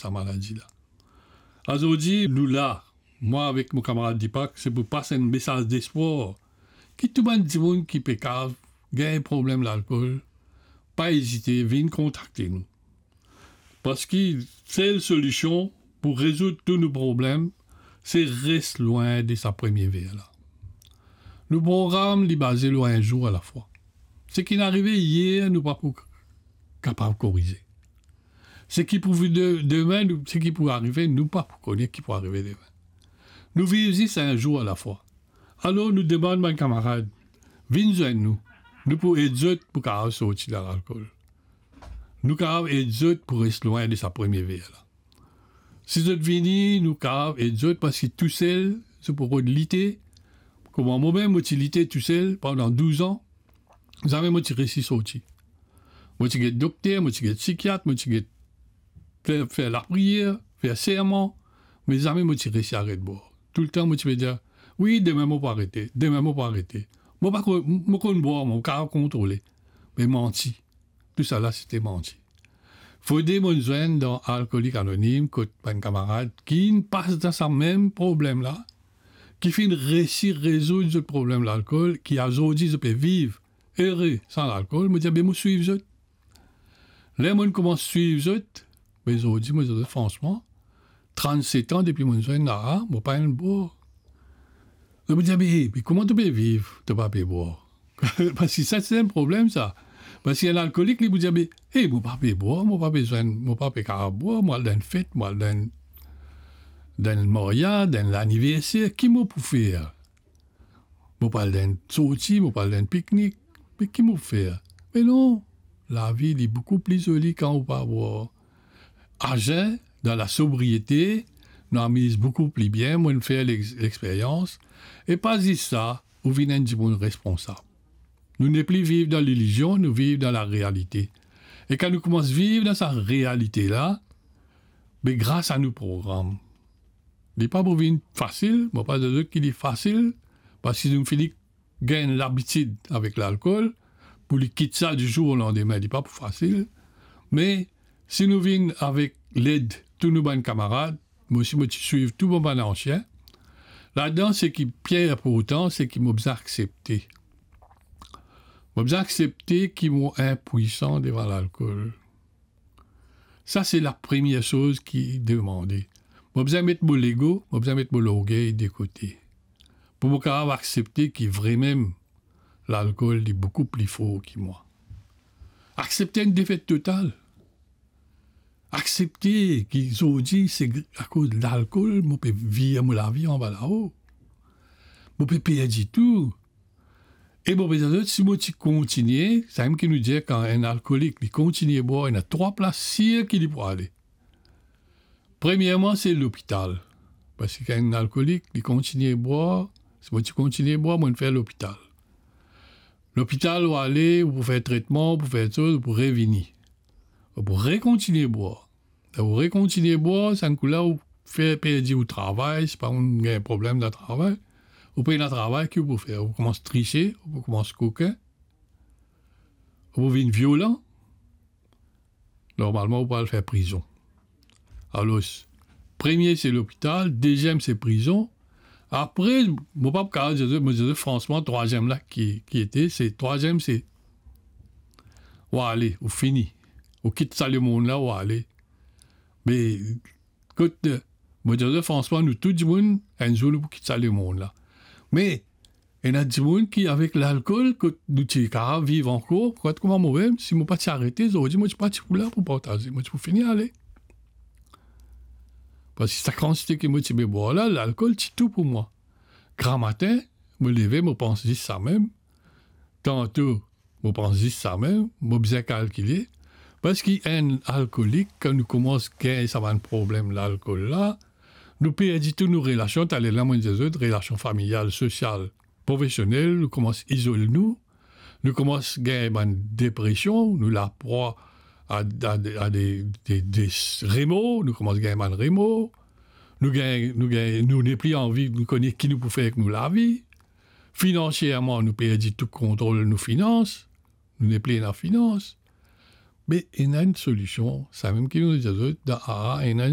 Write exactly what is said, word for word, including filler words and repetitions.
sa maladi la. Azordi, nou la, mwa avek mo kamarad Deepak, se pou pas enn mesaz despwar, ki tou bann dimoun ki pe kav gagn problem lalkol, pa ezite, vinn kontakte nou. Parski sel solision pou rezoud tou nou problem, se res lwin de sa premie ver la. Nou program, li baze lor enn zour alafwa. Seki inn arive yer, nou pa pou kapav korize. Seki pou vini de-, demin, nou, seki pou arive, nou pa pou kone ki pou arive demin. Nou viv zis enn zour alafwa. Alor, nou demann bann kamarad, vinn zwenn nou. Nou pou ed zot pou kapav sorti dan lalkol. Nou kapav ed zot pou res lwin de sa premie ver la. Si zot vini, nou kapav ed zot, parski tousel, zot pou rod lite. Kouma momem, mo ti lite tousel pandan douz an, zame mo ti resi sorti. Mo ti get dokter, mo ti get sikiat, mo ti get fer, fer lapriyer, fer serman, me zame mo ti resi aret bwar. Toultan mo ti pe dir, "Wi, demin mo pou arete, demin mo pou arete." Mo pa ko-, mo konn bwar, mo kapav kontrole. Me manti. Tousala sete manti. Fode mo'nn zwenn dan Alkolik Anonim kot bann kamarad ki inn pas dan sa mem problem la, ki finn resi rezoud zot problem lalkol, ki azordi zot pe viv ere san lalkol, mo dir, "Be mo swiv zot." Ler mo'nn koumans swiv zot, be zordi, mo dir zot fransman, trannset an depi mo'nn zwenn la, mo pa enn bwar. Zot pou dir, "Me, me kouma to pe viv, to pa pe bwar?" Parski sa, se enn problem, sa. Parski enn alkolik, li pou dir, "Me, e, mo pa pe bwar, mo pa pe zwenn, mo pa pe kapav bwar, mo al dan enn fet, mo al dan enn, dan enn maryaz, dan enn laniverser, ki mo pou fer? Mo pou al dan enn sorti, mo pou al dan enn piknik, me ki mo pou fer?" Me non, lavi, li boukou pli zoli kan ou pa bwar. Azen, dan lasobriete, nou amiz boukou pli bien, mo'nn fer lex-, lexperyans. E pa zis sa, ou vinn enn dimoun responsab. Nou nepli viv dan lilizion, nou viv dan larealite. E kan nou koumans viv dan sa realite la, be gras a nou program. Li pa pou vinn fasil, mo pa dir zot ki li fasil, parski nou fini gagn labitid avek lalkol, pou li kit sa di zour o landime, li pa pou fasil. Me si nou vinn avek led tou nou bann kamarad, mo osi mo ti swiv tou mo bann ansien. Ladan, seki pli inportan, seki mo bizin aksepte. Mo bizin aksepte ki mo inpwisan devan lalkol. Sa, se lapremier soz ki demande. Mo bizin met mo lego, mo bizin met mo lorgey de kote. Pou mo kapav aksepte ki vremem, lalkol, li boukou pli for ki mwa. Aksepte enn defet total. Aksepte ki zordi, se gr-, akoz lalkol, mo pe vir mo lavi anba lao. Mo pe perdi tou. E mo pe dir zot, si mo ti kontigne, samem ki nou dir kan enn alkolik, li kontigne bwar, ena trwa plas sir ki li pou ale. Premierman, se lopital. Parski kan enn alkolik, li kontigne bwar, si mo ti kontigne bwar, mo'nn fer lopital. Lopital, ou ale, ou pou fer tretman, ou pou fer soz, ou pou revini. Ou pou rekontigne bwar. Ou rekontigne bwar, sa enn kou la, ou fer perdi ou travay, si pa ou gagn problem dan travay, ou pena travay, ki ou pou fer? Ou koumans trise, ou koumans kokin, ou pou vinn violan. Normalman, ou pou al fer prizon. Alor, premie se lopital, deziem se prizon. Apre, mo pa kapav dir zot, mo dir zot fransman, trwaziem la ki, ki ete, se trwaziem se ou ale, ou fini. Ou kit sa lemond la, ou ale. Me kot, mo dir zot fransman, nou tou dimoun, enn zour nou pou kit sa lemond la. Me ena dimoun ki avek lalkol, kot nou ti kapav viv ankor, kot kouma momem, si mo pa ti arete, zordi mo ti pa ti pou la pou partaze, mo ti pou fini ale. Parski sa kantite ki mo ti pe bwar la, lalkol ti tou pou mwa. Gramatin, mo leve, mo pans zis samem. Tanto, mo pans zis samem, mo bizin kalkile. Parski enn alkolik, kan nou koumans gagn sa bann problem lalkol la, nou perdi tou nou relasion, taler la mo'nn dir zot, relasion familial, sosial, profesionel, nou koumans izol nou, nou koumans gagn bann depresion, nou laprwa a, a, a de, de, de remor, nou koumans gagn bann remor, nou gagn, nou gagn, nou nepli anvi, nou kone ki nou pou fer ek nou lavi. Finansierman, nou perdi tou kontrol nou finans, nou nepli ena finans. Me ena enn solision, samem ki nou dir zot, dan A A ena enn